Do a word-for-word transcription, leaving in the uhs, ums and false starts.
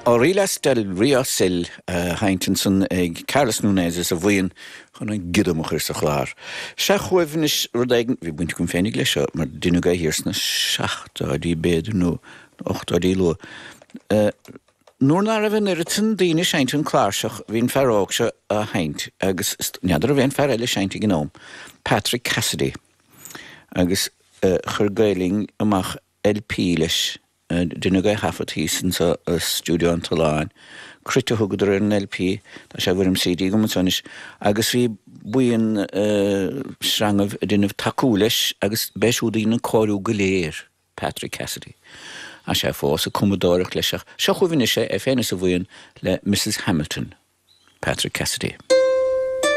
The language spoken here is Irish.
Orillas del Río Sil sheinnte ansan ag Carlos Núñez is a bhuíon chun an giodam a chur sa chlár. Seo chugaibh anois rud éigin, bhí baint agam féinig leis seo, mar deineadh é thiar sna seachtóidí b'fhéidir nó ochtóidí luath. Nuair ná raibh an oiread sin daoine ag seinnt an cláirseach, bhí an fear óg seo á sheinnt agus n'fheadar an raibh aon fear eile ag seinnt ag an am, Patrick Cassidy. Agus chuir Gael-Linn amach LP leis. Deineadh é a thaifead thíos insa stiúideo an Tolláin. Cruit a thugadar ar an LP, tá sé i bhfoirm CD agam anso anois, agus bhí buíon sreangaibh ag déanamh tacú leis agus b'é siúd a dhein an cóiriú go léir, Patrick Cassidy. Tá sé fós ag cumadóireacht leis ach seo chugaibh anois é, é féin is a bhuíon le Mrs Hamilton, Patrick Cassidy.